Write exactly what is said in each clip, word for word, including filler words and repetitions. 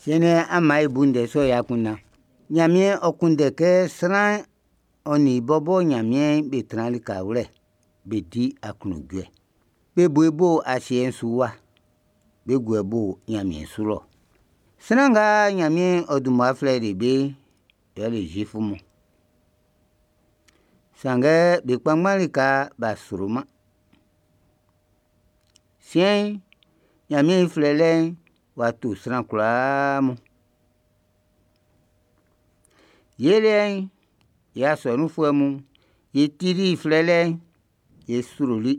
Siɛn'n, an maan e bu ndɛ sɔ'n i akunndan. Ɲanmiɛn ɔ kunndɛ kɛ sran'n ɔ nin i bɔbɔ Ɲanmiɛn'n be tran likawlɛ, be di aklunjuɛ. Be bo i bo asiɛ'n su wa, be guɛ i bo ɲanmiɛn su lɔ. Sran nga Ɲanmiɛn ɔ dun mmua flɛli be'n, yɛle Zuifu mun. Sanngɛ be kpanngban lika b'a sroman. Siɛn'n, Ɲanmiɛn i flɛlɛ'n w'a to sran kwlaa mun. Ye liɛ'n, ye asɔnunfuɛ mun, ye tili i flɛlɛ'n, ye sroli.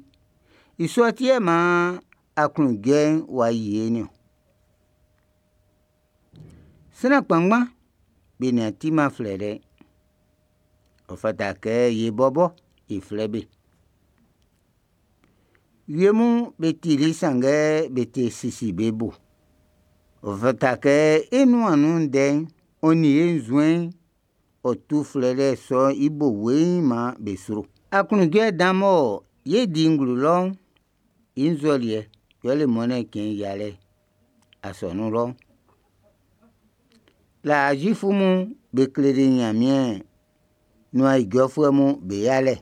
I sɔ ti yɛ maan aklunjuɛ'n w'a yi e'n niɔn. Sran kpanngban be nin a timan flɛlɛ'n. Ɔ fata kɛ ye bɔbɔ e flɛ be. Wie mun be tili sanngɛ be te sisi be bo. Ɔ fata kɛ e nuan nun ndɛ'n, ɔ nin e nzuɛn'n, ɔ tu flɛlɛ sɔ'n i bo weiin maan be sro. Aklunjuɛ dan mɔ ye di i nglo lɔ'n, i nzɔliɛ yɛle Mɔnnɛn cɛn yialɛ asɔnun lɔ'n. Laa Zuifu mun be kleli Ɲanmiɛn nuan ijɔfuɛ mun be yalɛ.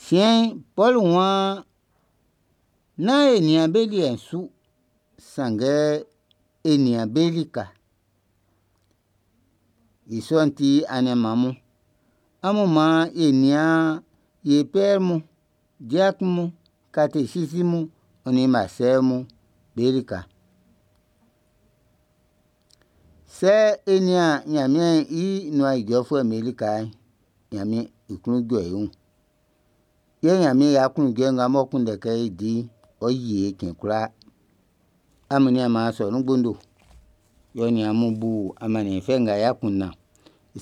Siɛn'n, Pɔlu waan nán e nian be liɛ'n su, sanngɛ e nian be lika. I sɔ'n ti, aniaan mun, amun maan e nian ye pɛr mun, diakun mun, katesisi mun, ɔ nin masɛr mun be lika. Sɛ e nian Ɲanmiɛn i nuan ijɔfuɛ'm be lika'n, Ɲanmiɛn i klun jɔ́ e wun. Yɛ Ɲanmiɛn i aklunjuɛ nga m'ɔ kunndɛ kɛ e di'n, ɔ́ yí e cɛn kwlaa. Amun nianman asɔnun gbondo, yɛ ɔ nin amun bu amanniɛn fɛ nga i akunndan.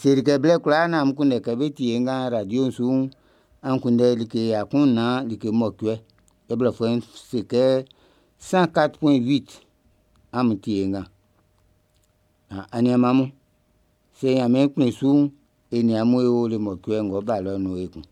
Seli kɛ blɛ kwlaa naan amun kunndɛ kɛ bé tíe ngan radio'n su'n, an kunndɛ like ya kun nnan like mɔcuɛ. Yɛ blɔfuɛ'n se kɛ cent quatre point huit amun tie ngan. Aniaan mun, sɛ Ɲanmiɛn kplin su'n, e nin amun e o le mɔcuɛ ng'ɔ́ bá lɔ'n nun ekun.